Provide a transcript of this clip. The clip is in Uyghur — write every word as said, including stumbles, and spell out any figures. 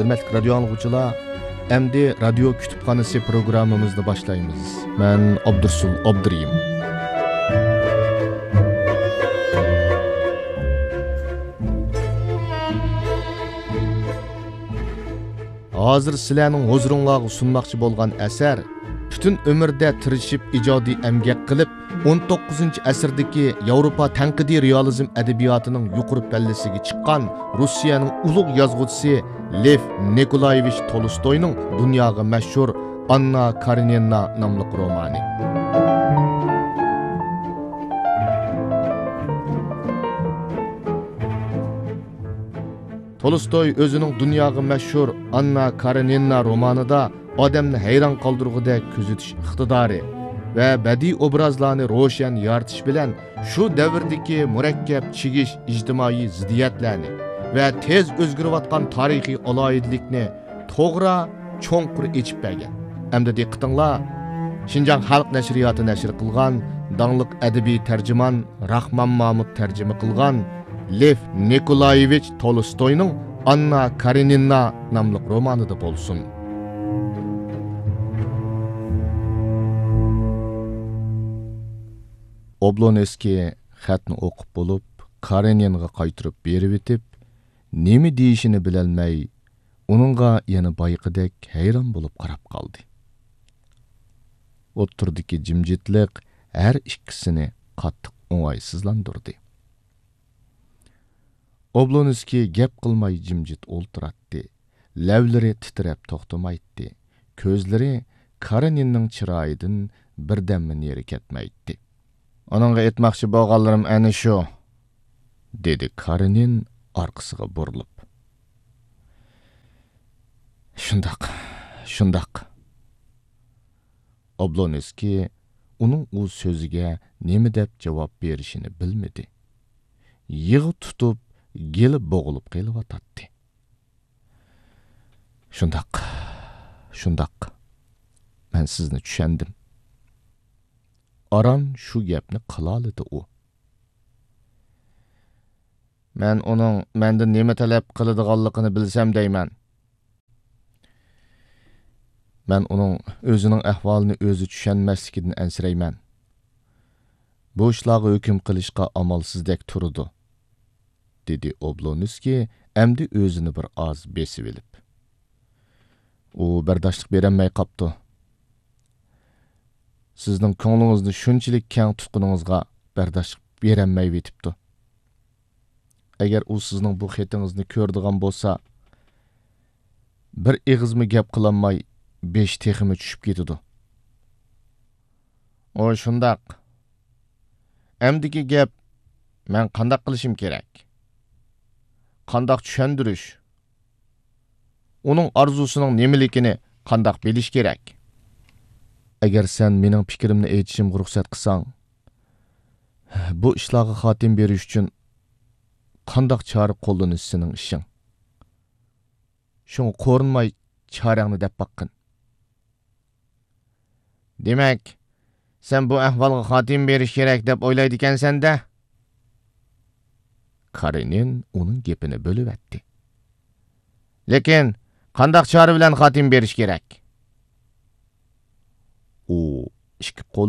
ھۆرمەتلىك رادىيو ئاڭلىغۇچىلار، ئەمدى رادىيو كۇتۇپخانىسى پروگراممىمىزنى باشلايمىز. مەن ئابدۇرسۇل ئابدۇرېھىم. ھازىر سىلەرنىڭ ھۇزۇرۇڭلارغا سۇنماقچى بولغان ئەسەر پۈتۈن ئۆمرىدە تىرىشىپ ئىجادىي ئەمگەك قىلىپ، ئون توققۇزىنچى ئەسىردىكى ياۋروپا تەنقىدىي رېئالىزم ئەدەبىياتىنىڭ يۇقىرى پەللىسىگە چىققان روسىيەنىڭ ئۇلۇغ يازغۇچىسى لېف نىكولايېۋىچ تولستوينىڭ دۇنياغا مەشھۇر ئاننا كارېنىنا ناملىق رومانى. تولستوي ئۆزىنىڭ دۇنياغا مەشھۇر ئاننا كارېنىنا رومانىدا ئادەمنى ھەيران قالدۇرغۇدەك كۆزىتىش ئىقتىدارى ۋە بەدىئىي ئوبرازلارنى روشەن يارىتىش بىلەن شۇ دەۋردىكى مۇرەككەپ چىگىش ئىجتىمائىي زىددىيەتلەرنى ۋە تېز ئۆزگىرىۋاتقان تارىخىي ئالاھىدىلىكنى توغرا، چوڭقۇر ئېچىپ بەرگەن. ئەمدى دىققىتىڭلار، شىنجاڭ خەلق نەشرىياتى نەشر قىلغان داڭلىق ئەدەبىي تەرجىمان راخمان مامۇت تەرجىمە قىلغان لېف نىكولايېۋىچ تولستوينىڭ ئاننا كارېنىنا ناملىق رومانىدا بولسۇن. ئوبلونسكىي خەتنى ئوقۇپ بولۇپ، كارېنىنغا قايتۇرۇپ بېرىۋېتىپ، نېمە دېيىشىنى بىلەلمەي، ئۇنىڭغا يەنە بايىقىدەك ھەيران بولۇپ قاراپ قالدى. ئوتتۇرىدىكى جىمجىتلىق ھەر ئىككىسىنى قاتتىق ئوڭايسىزلاندۇردى. ئوبلونسكىي گەپ قىلماي جىمجىت ئولتۇراتتى. لەۋلىرى تىترەپ توختىمايتتى. كۆزلىرى كارېنىننىڭ چىرايىدىن بىردەممۇ نېرى كەتمەيتتى. ئۇنىڭغا ئېيتماقچى بولغانلىرىم ئەنە شۇ، دېدى كارېنىن ئارقىسىغا بۇرۇلۇپ. شۇنداق، شۇنداق. ئوبلونسكىي ئۇنىڭ ئۇ سۆزىگە نېمە دەپ جاۋاب بېرىشىنى بىلمىدى. يىغا تۇتۇپ، گېلى بوغۇلۇپ قېلىۋاتاتتى. شۇنداق، شۇنداق. مەن سىزنى چۈشەندىم. ئاران شۇ گەپنى قىلالىدى ئۇ. مەن ئۇنىڭ مەندىن نېمە تەلەپ قىلىدىغانلىقىنى بىلسەم دەيمەن. مەن ئۇنىڭ ئۆزىنىڭ ئەھۋالىنى ئۆزى چۈشەنمەسلىكىدىن ئەنسىرەيمەن. بۇ ئىشلارغا ھۆكۈم قىلىشقا ئامالسىزدەك تۇرىدۇ، دېدى ئوبلونسكىي ئەمدى ئۆزىنى بىر ئاز بېسىۋېلىپ. ئۇ بەرداشلىق بېرەلمەي قاپتۇ. سىزنىڭ كۆڭلىڭىزنى شۇنچىلىك كەڭ تۇتقىنىڭىزغا بەرداشلىق بېرەلمەيۋېتىپتۇ. ئەگەر ئۇ سىزنىڭ بۇ خېتىڭىزنى كۆرىدىغان بولسا، بىر ئېغىزمۇ گەپ قىلالماي، بېشى تېخىمۇ چۈشۈپ كېتىدۇ. ئۇ شۇنداق. ئەمدىكى گەپ، مەن قانداق قىلىشىم كېرەك؟ قانداق چۈشەندۈرۈش؟ ئۇنىڭ ئارزۇسىنىڭ نېمىلىكىنى قانداق بىلىش كېرەك؟ ئەگەر سەن مېنىڭ پىكرىمنى ئېيتىشىمغا رۇخسەت قىلساڭ، بۇ ئىشلارغا خاتىمە بېرىش ئۈچۈن قانداق چارە قوللىنىش سېنىڭ ئىشىڭ. شۇڭا قورۇنماي چارەڭنى دەپ باققىن. دېمەك، سەن بۇ ئەھۋالغا خاتىمە بېرىش كېرەك دەپ ئويلايدىكەنسەن-دە؟ كارېنىن ئۇنىڭ گېپىنى بۆلۈۋەتتى. لېكىن، قانداق چارە بىلەن خاتىمە بېرىش كېرەك؟ ئۇ ئىككى قول